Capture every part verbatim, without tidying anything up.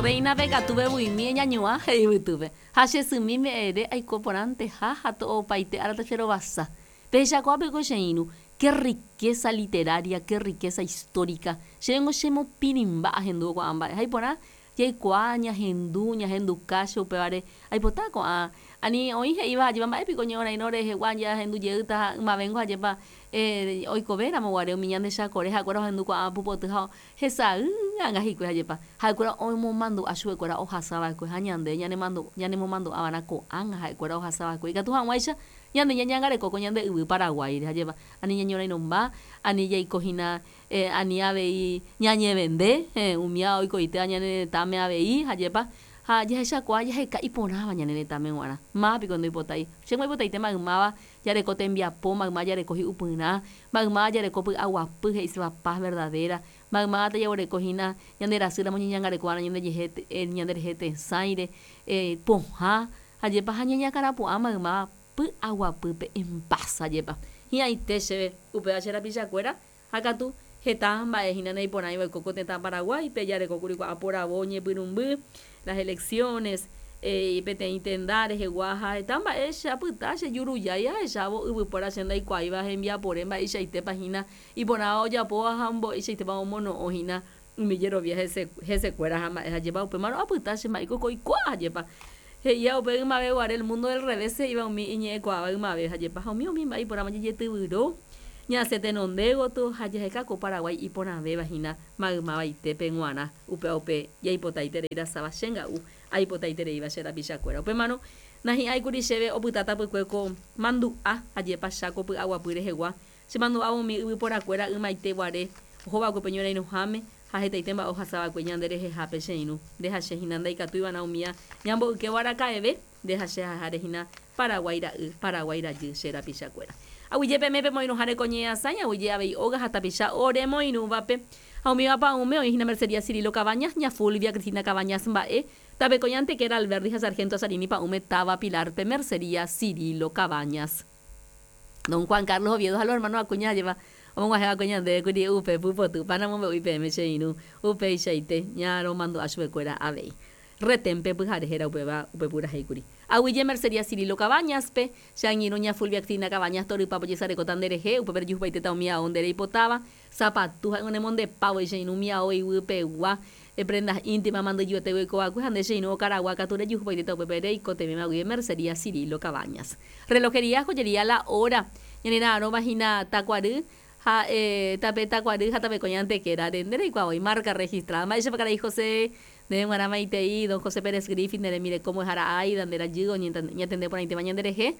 Reina katu vevuimi eñañuã he'i yvytýpe ha che symi me'ẽre aiko porãnteha ha to'opaite ára tacherovasa. Pehechakuaápeko che irũ, qué riqueza literaria, qué riqueza histórica. Chéngo chemopirĩmba ahendúvo ko'ã mba'e ha iporã jaikuaa ñahendu, ñahenduka che upévare aipota ko'ã ani oĩ he'íva hajépa mba'épiko ñe'õrairõ rehegua jahendu jeýta ha ymavéngo hajépa eh, oikovéramo guare umi ñande chakore ha'ekuéra ohendu ko'ã pupoty ha hesay anga hikuái hajépa ha'ekuéra omomandu'a chupekuéra ohasava'ekue ha ñande ñanemandu ñanemomandu'ava'erã ko'ág̃a ha'ekuéra ohasava'ekue ikatu hag̃uáicha ñande ñañangareko ko ñande yvy Paraguáire hajépa ani ñañorairõmba ani jaikohína eh, ani avei ñañevende eh, umíva oikoitéva ñane retãme avei hajépa ha jahechakuaa jaheka iporãva ñane retãme g̃uarã mávapiko ndoipotái chéngo aipotaite maymáva jareko tembiapo mayma jareko hi'upyrã maymáva jareko py'aguapy he'iséva paz verdadera maymáva tajaguerekohína ñanderasýramo ñañangarekova'erã ñandejehe ñanderehe tesãire eh, pohã hajépa ha ñañakãrapu'ã maymáva py'aguapýpe en paz hajépa hi'ãite chéve upéva che rapichakuéra ha katu heta mba'ehína naiporãiva oiko ko tetã Paraguáipe jarekókuri kuaporavo ñepyrũmby las elecciones eh, peteĩ tenda rehegua ha heta mba'e che apyta che jurujái ahechávo yvypóra che ndaikuaáiva hembiapore mba'eichaitépa hína iporãva ojapóva ha mba'eichaitépa omono'õhína umi jerovia hese hesekuéra ha mba'e hajépa upémarõ apyta che mba'éiko oikuaa hajépa he'íva upe ymave guare el mundo del revés he'íva umi iñe'ẽkuaáva ymave hajépa ha umi umi mba'e iporãva jejetyvyro ñasẽ tenonde gotyo ha jaheka ko Paraguái iporãvéva hína maymavaitépe g̃uarã upéva upe jaipotaiterei rasáva che nga'u aipotaitereíva che rapichakuéra upémarõ nahi'ãikuri chéve opyta tapykue ko mandu'a ajépa Cháko py'aguapy rehegua chemandu'ávo umi yvyporakuéra ymaite guare ohova'ekue pe ñorairõháme ha hetaite mba'e ohasava'ekue ñande rehehápe che irũ nde ha che hína ndaikatúiva'erã umía ñamboykévo araka'eve nde ha che ha'eháre hína Paraguái ra'y Paraguái rajy che rapichakuéra aguyjépeme pemoirũháre ko ñe'ẽasãi aguyje avei óga ha tapicha oremoirũvape ha umíva pa'ũme oĩhína Mercería Cirilo Cabañas ña Fulvia Cristina Cabañas mba'e tapeko Antequera Alberdi ha Sargento Azarini pa'ũme táva Pilarpe Mercería Cirilo Cabañas Don Juan Carlos Oviedo ha los hermanos Acuña hajépa omog̃uahẽva'ekue ñandéve upe pupoty panamombe'u peẽme che irũ upeichaite ñaromandu'a chupekuéra avei reténpe pyhare héra upéva upe purahéikuri aguyje Mercería Cirilo Cabañaspe che angirũ ña Fulvia Cristina Cabañas torypápe ojesarekóta nderehe upépe rejuhupaitéta umi ao nde reipotáva sapatu ha'e onemondepávoi che irũ umi ao iguýpegua prendas íntimas mandyjuete oikova'ekue ha nde che irũ okaragua katu rejuhupaitéta upépe reikotevẽma guive Mercería Cirilo Cabañas relojería joyería La Hora ñanera'arõva hína Takuary ha eh, tape Takuary ha tapeko Antequera nde reikuaavoi marca registrada mba'éichapa karai José ndéve g̃uarã maitei don José Pérez Griffith nde rembireko mbo'ehára Aida nde rajy oñatende porãitéva ñanderehe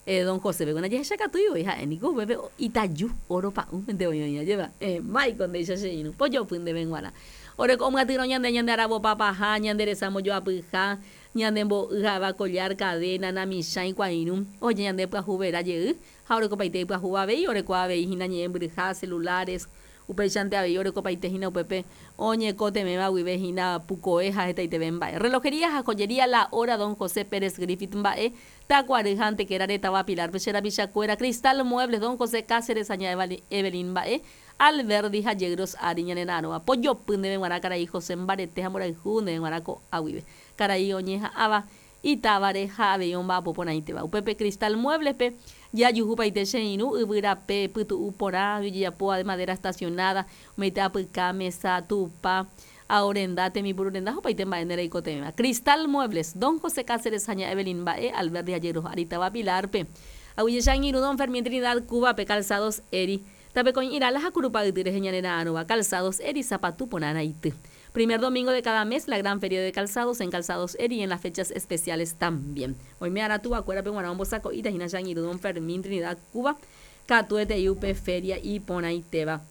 eh, don José pe jahechakatúi ha'éniko upépe itaju oro pa'ũmente oĩ oĩ ajépa eh, máiko ndéicha che irũ pojopy ndéve g̃uarã oreko omyatyrõ ñande ñande aravopapaha ñande resa mbojoapyha ñande mbo'y ha'éva collar cadena namichãi kuairũ oje ñande pyahu vera jey ha orekopaite ipyahúva avei oreko avei hína ñe'ẽmbyryha celulares upéichante avei orekopaite hína upépe oñekotevẽva guive hína pukoe ha hetaiteve mba'e relojería ha joyería La Hora don José Pérez Griffith mba'e Takuary ha Antequera táva Pilarpe che rapichakuéra Cristal Muebles don José Cáceres ha ña Evelyn mba'e Alberdi ha Yegros ári ñanera'arõva pojopy ndéve g̃uarã karai José mbarete ha mborayhu ndéve g̃uarã ko'a guive karai oñeha'ãva itávare ha avei omba'apo porãitéva upépe Cristal Mueblespe jajuhupaite che irũ yvyrape pytu'u porã ojejapóva de madera estacionada umeite apyka mesa tupa aorenda temipururenda opaite mba'e nde reikotevẽva Cristal Muebles don José Cáceres ha ña Evelyn mba'e Alberdi ha Yegros ári táva Pilarpe aguyje che angirũ don Fermín Trinidad Cubape Calzados Eri tapeko Irala ha Kurupa yty rehe ñanera'arõva Calzados Eri sapatu porãraity Primer domingo de cada mes, la gran feria de calzados en Calzados Eri y en las fechas especiales también. Oime ára tuvakuérape g̃uarã ombosako'íta hína che angirũ don Fermín Trinidad Cuba katuete upe feria iporãitéva.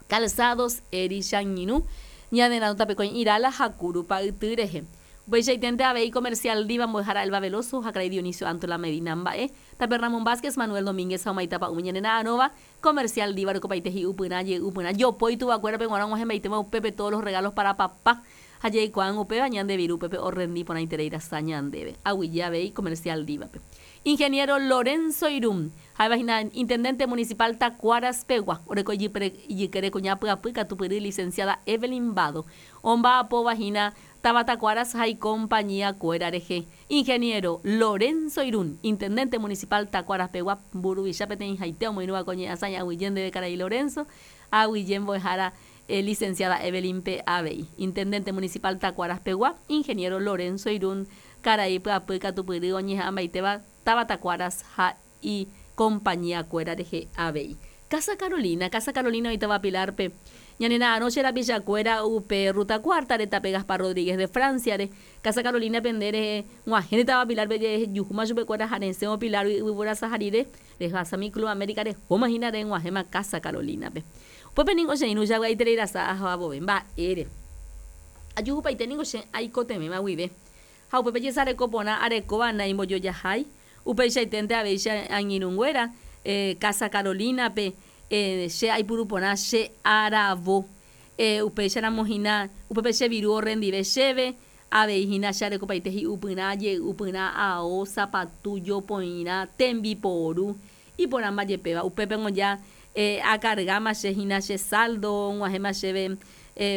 Calzados Eri che angirũ ñanera'arõ tapeko Irala ha Kurupa yty rehe. Upeichaitente avei comercial Diva mbo'ehára Elba Veloso ha karai Dionisio Antola Medina mba'e Tape Ramón Vázquez, Manuel Domínguez ha omaitapa umi ñane na'arõva Comercial Diva orekopaite hi'upyrã jey'upyrã jopói tuvakuérape g̃uarã og̃uahẽmbaitema upépe todos los regalos para papá ha jaikuaág̃a upéva ñande viru upépe orrendi porãiterei rasa ñandéve. Aguyje avei Comercial Divape. Ingeniero Lorenzo Irún, ha'éva hína Intendente Municipal Tacuaras pegua, oreko ijykére kuña pyapy katupyry Licenciada Evelyn Bado, omba'apóva hína táva Tacuaras ha icompañía kuéra rehe. Ingeniero Lorenzo Irún, Intendente Municipal Tacuaras pegua, mburuvicha peteĩhaite omoirũva ko ñe'ãsãi aguyje ndéve karai Lorenzo, aguyje mbo'ehára Licenciada Evelyn pe avei. Intendente Municipal Tacuaras pegua, Ingeniero Lorenzo Irún, karai pyapy katupyry oñeha'ãmbaitéva táva Tacuaras ha icompañía kuéra rehe avei. Casa Carolina, Casa Carolina oĩtava Pilar-pe, ñane ra'arõ che rapichakuéra upe Ruta Cuarta-re tape Gaspar Rodríguez de Francia-re. Casa Carolina pende rehe g̃uahẽre táva Pilar-pe jejuhúma chupekuéra ha resẽvo Pilar-gui yvyvorasa ha rire rehasami Club América rehóma hína reg̃uahẽma Casa Carolina-pe. Upépe ningo che irũ javy'aiterei rasa ahava vove mba'ére. Ajuhupaite ningo che aikotevẽva guive. Ha upépe jesareko porã arekóva naimbojojahái, upeichaiténte avei che angirũnguéra Casa Carolina-pe che aipuru porã che aravo. Upéicharamo hína upépe che viru orrendive chéve, avei hína che arekopaite hi'upyrã, jey'upyrã, ao, sapatu, jopoirã, tembiporu, iporãmba jepéva. Upépe ngoja akargáma che hína che saldo, og̃uahẽma chéve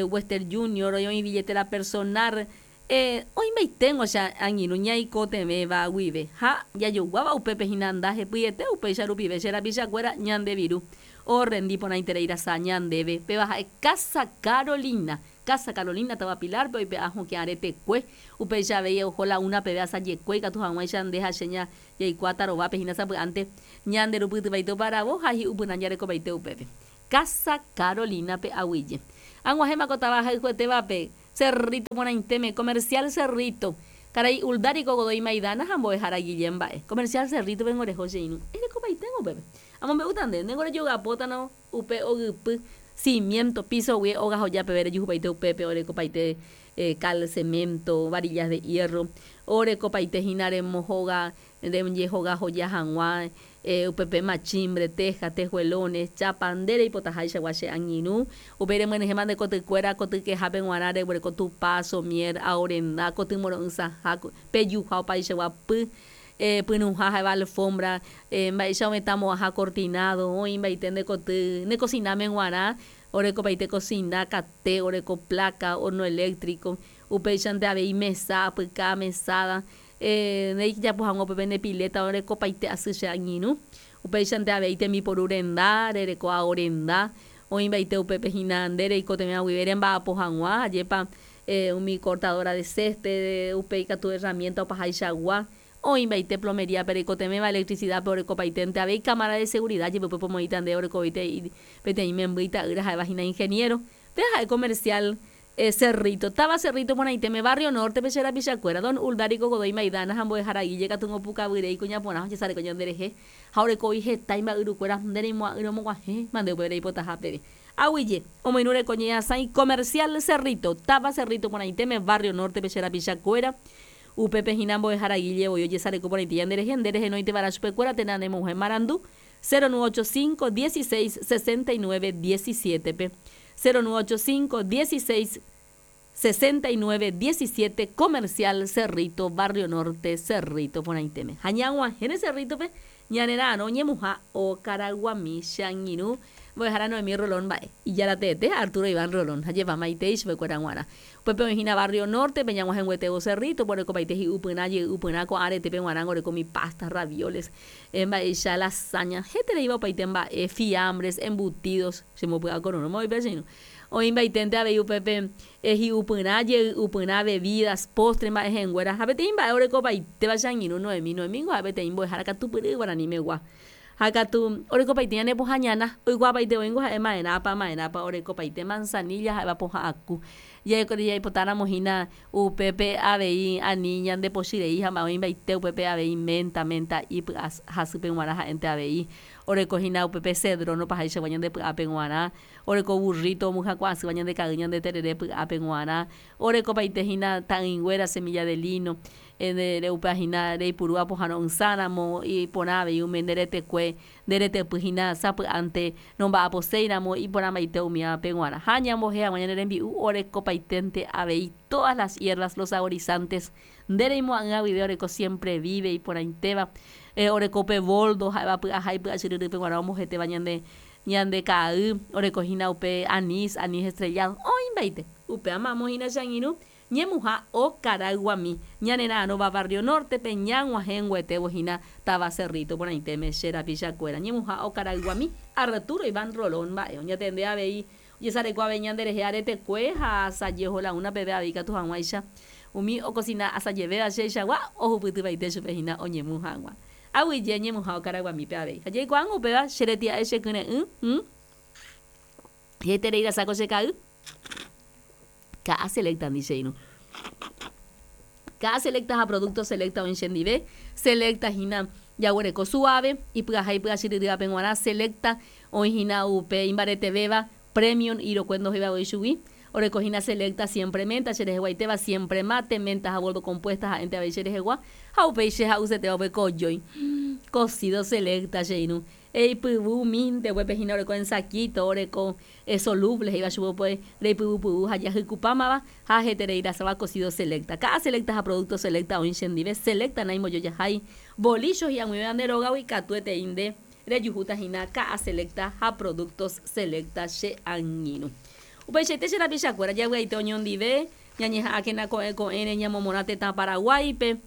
Western Junior, oĩ billetera personal, oĩmbaiténgo che angirũ ñaikotevẽva guive ha jajoguáva upépe hína ndahepyiete upéicha rupive che rapichakuéra ñande viru orrendi porãiterei rasa ñandéve. Péva ha'e Casa Carolina, Casa Carolina táva Pilar-pe oipe'a hokẽ aretekue, upéicha avei oho la una peve asajekue ikatu hag̃uáicha nde ha che jaikuaa tarovápe hína sapy'ánte ñande rupytyvaite oparavo ha hi'upyrã jarekopaite upépe. Casa Carolina-pe aguyje. Ag̃uahẽma ko táva ahayhuetévape, Cerrito porãitéme, Comercial Cerrito, karai Uldarico Godoy Maidana ha mbo'ehára Guillem mba'e. Comercial Cerrito-pe ngoreho che irũ. Erekopaite upépe. Amombe'úta nde, ndéngo rejogapótano upe ogypy, cimiento, piso guie óga hoja peve rejuhupaite upépe orekopaite cal, cemento, varillas de hierro, orekopaite hína remohóga, rejehoga hoja hag̃ua, upépe machimbre, teja, tejuelones, chapa, nde reipotaháichagua che angirũ, upéi remyenyhẽma nde kotykuéra kotykehápe g̃uarã reguereko tupa, somier, ao renda, kotymoro'ysãha, pejuha opaichagua py, pyrũha ha'éva alfombra, mba'éicha ovetãmo'ãha cortinado, oĩmbaite nde koty ne kosináme g̃uarã, orekopaite kosina, kate, oreko placa, horno eléctrico, upéichante avei mesa, apyka, mesada, ndejapo hag̃ua upépe nde pileta orekopaite asy che angirũ, upéichante avei tembiporu renda, rereko ao renda, oĩmbaite upépe hína nde reikotevẽva guive remba'apo hag̃ua, ajépa umi cortadora de césped, upéi katu herramienta opahaichagua, oĩmbaite plomería-pe reikotevẽva, electricidad-pe orekopaitente avei cámara de seguridad jepe upépe omoĩta nde orekovaite peteĩ memby ita'ýra ha'éva hína ingeniero. Péva ha'e comercial Cerrito, táva Cerrito porãitéme, barrio Norte-pe che rapichakuéra, don Uldarico Godoy Maidana ha mbo'ehára Guille katu ngopukavyrei kuña porã ojesareko ñanderehe ha orekóvi heta imba'yrukuéra nde reimo'ã'ỹre omoguahẽ mande upe reipotaha peve. Aguyje, omoirũ reko ñe'ãsãi Comercial Cerrito, táva Cerrito porãitéme, barrio Norte-pe che rapichakuéra, upépe hína mbo'ehára Guille voi ojesareko porãite ñanderehe, nde rehenóiteva'erã chupekuéra térã nemoguahẽ marandu cero nueve ocho cinco, dieciséis, sesenta y nueve, diecisiete-pe. cero nueve ocho cinco, dieciséis, sesenta y nueve, diecisiete, Comercial Cerrito, Barrio Norte, Cerrito porãitéme. Ha ñag̃uahẽre Cerrito-pe, ñane ra'arõ ñemuha Okaraguami che angirũ mbo'ehára Noemí Rolón mba'e. Ijarateete Arturo Iván Rolón ha jepamaitei chupekuéra g̃uarã. Upépe oĩ hína Barrio Norte-pe ñag̃uahẽnguetévo Cerrito, orekopaite hi'upyrã, jey'upyrã ko'ã aretépe g̃uarã oreko umi pasta, ravioles, mba'éicha lasaña, hetereíva opaite mba'e, fiambres, embutidos, chembopy'akororõ mbo'épe che irũ. Oĩmbaiténte avei upépe hi'upyrã, jey'upyrã, bebidas, postre mba'ehẽnguéra ha peteĩ mba'e orekopaitéva che angirũ Noemí. Noemí ningo ha'e peteĩ mbo'ehára katupyry guaranimegua. Ha katu orekopaite ñane pohã ñana, oikuaapaite oĩngo ha'e ma'erãpa, ma'erãpa orekopaite manzanilla ha'éva pohã aku. Jaipotáramo hína upépe avei ani ñandepochy rei ha mba'e oĩmbaite upépe avei menta, menta ipy'a hasýpe g̃uarã ha'énte avei. Oreko hína upépe cedrón opahaichagua ñande py'ápe g̃uarã. Oreko burrito omohyakuã'asýva ñande ka'ay ñande terere py'ápe g̃uarã. Orekopaite hína ta'ỹinguéra semilla de lino upéva hína reipuru apohãro'ysãramo iporã avei umi nde retekue nde retepy hína sapy'ánte nomba'aposéiramo iporãmbaite umívape g̃uarã. Ha ñambohe hag̃ua ñane rembi'u orekopaiténte avei todas las hierbas, los saborizantes nde reimo'ã'ỹva guive oreko siempre vive iporãitéva oreko upe boldo ha'éva py'aha ipy'achyryrýpe g̃uarã ombohetéva ñande ñande ka'ay orekohína upe anís, anís estrellado oĩmbaite upéva mamo hína che angirũ ñemuha okarayguami ñanera'ãrõva barrio norte-pe ñag̃uahẽnguetévo hína táva Cerrito porãitéme che rapichakuéra ñemuha okarayguami Arturo Iván Rolón mba'e oñatende avei ojesareko avei ñanderehe aretekue ha asaje oho la una peve avei ikatu hag̃uáicha umi okosina asajevéva cheichagua ohupytypaite chupe hína oñemu hag̃ua aguyje ñemuha okarayguamípe avei ha jaikuaángo upéva che retia'e che kyre'ỹ heterei rasako che ka'y ka'a selecta ndi che irũ ka'a selecta ha producto selecta oĩ chendive selecta hína jaguereko suave ipy'aha ipy'achyryrývape g̃uarã selecta oĩ hína upe imbaretevéva premium irokue ndohéiva voi chugui oreko hína selecta siempre menta chereheguaitéva siempre mate menta ha boldo compuesta ha'énte avei cherehegua ha upéi che ha'usetéva upe kojói cocido selecta che irũ eipyvumínte upépe hína oreko en saquito oreko soluble he'íva chupe upe reipyvupyvu ha jahykupámava ha heterei rasáva cocido selecta ka'a selecta ha producto selecta oĩ chendive selecta naimbojojahái bolicho hi'ag̃uivéva nde rógagui katuetei nde rejuhúta hína ka'a selecta ha productos selecta che angirũ upeichaite che rapichakuéra javy'aite oñondive ñañeha'ãkena ko'ẽ ko'ẽre ñamomorã tetã Paraguáipe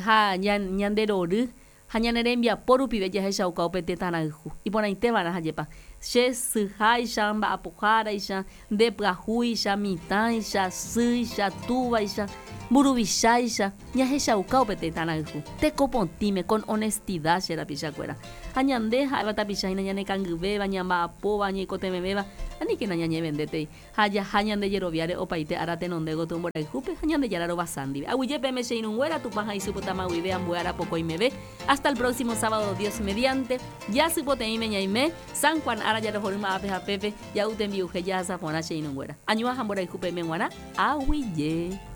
ha ñanderory ha ñane rembiapo rupive jahechauka upe tetãrayhu iporãitéva'erã hajépa che syháicha mba'apoháraicha nde pyahúicha mitãicha sýicha túvaicha mburuvicháicha ñahechauka upe tetãrayhu tekopotĩme con honestidad che rapichakuéra ha ñande ha'éva tapicha hína ñanekangyvéva ñamba'apóva ñaikotevẽvéva aníkena ñañevendétei ha jaha ñande jeroviáre opaite ára tenonde gotyo mborayhúpe ha Ñandejára rovasa ndive aguyjépeme che irũnguéra Tupã ha isypytama guive ambue arapokõimeve hasta el próximo sábado Dios mediante jasypoteĩme ñaime San Juan ára jarohorýma ápe ha pépe ja'u tembi'uhe jahasa porã che irũnguéra añua ha mborayhúpe g̃uarã aguyje.